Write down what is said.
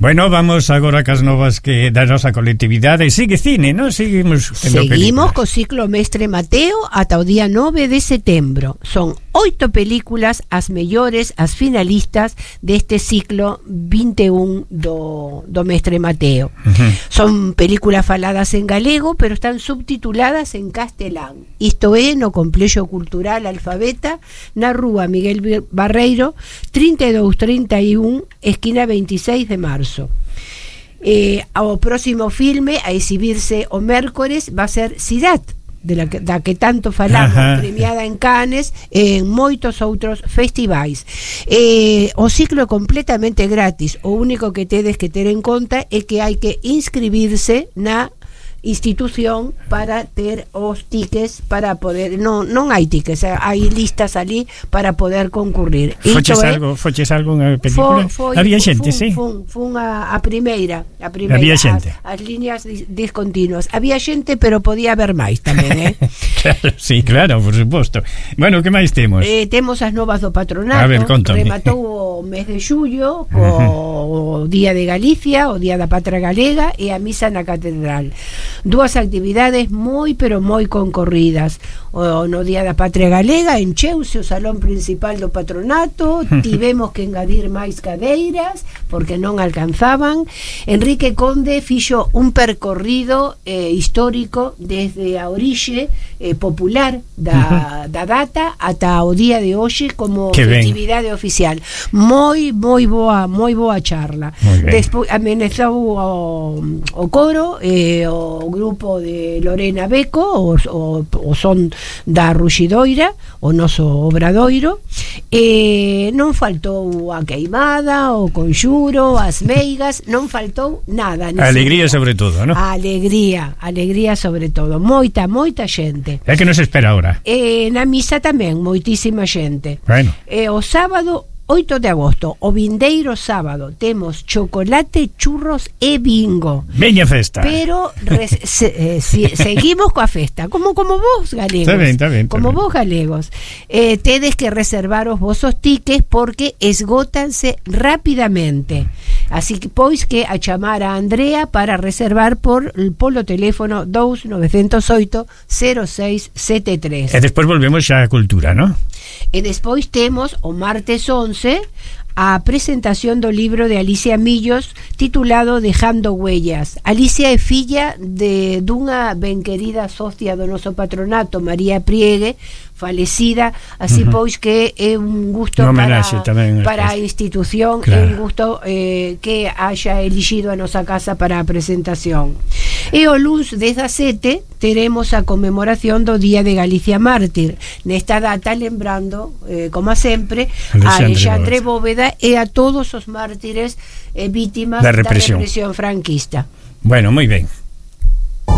Bueno, vamos agora cas novas que da nosa colectividade. Sigue cine, non? Seguimos co ciclo Mestre Mateo ata o día 9 de setembro. Son 8 películas as mellores, as finalistas deste ciclo 21 do Mestre Mateo. Son películas faladas en galego, pero están subtituladas en castelán. Isto é no Complexo Cultural Alfabeta, na rúa Miguel Barreiro 3231, esquina 26 de marzo. O próximo filme a exhibirse o mércores va a ser Sirat, da que tanto falamos, premiada en Cannes e en moitos outros festivais. O ciclo é completamente gratis. O único que tedes que ter en conta é que hai que inscribirse na institución para ter os tickets para poder, non hai tickets, hai listas ali para poder concurrir. Foches algo unha película? Había xente, sí. Fun a primeira. Había xente. As líneas discontinuas. Había xente, pero podía haber máis tamén, Claro, sí, claro, por suposto. Bueno, que máis temos? Temos as novas do patronato. A ver, contame. Rematou o mes de xullo co Día de Galicia, o Día da Patria Galega e a misa na catedral. Dúas actividades moi, pero moi concorridas. No Día da Patria Galega encheuse o salón principal do patronato, tivemos que engadir máis cadeiras porque non alcanzaban. Enrique Conde fixo un percorrido histórico desde a orixe popular da data ata o día de hoxe como festividade oficial. Moi boa charla. Despois amenezou o coro, o grupo de Lorena Beco, o son da Ruxidoira, o noso obradoiro. Non faltou a queimada, o conxuro, as meigas, non faltou nada. A alegría sobre todo, non? A alegría sobre todo. Moita xente. É que nos espera ahora. Na misa tamén, moitísima xente. Bueno. O sábado 8 de agosto, o vindeiro sábado, temos chocolate, churros e bingo. Veña festa. Pero seguimos coa festa, como vos galegos. Está ben. Como vos galegos. Tedes que reservar os vosos tickets porque esgótanse rapidamente. Así que pois que a chamar a Andrea para reservar polo teléfono 2908 0673. E despois volvemos xa á cultura, non? E despois temos o martes 11 a presentación do libro de Alicia Millos titulado Dejando Huellas. Alicia é filla dunha ben querida socia do noso patronato, María Priegue, falecida, así pois que é un gusto para a institución, claro. É un gusto que haya elixido a nosa casa para a presentación. E o luns 17 teremos a conmemoración do Día de Galicia Mártir, nesta data lembrando, como sempre, a Alexandre Bóveda e a todos os mártires vítimas da represión franquista. Bueno, moi ben.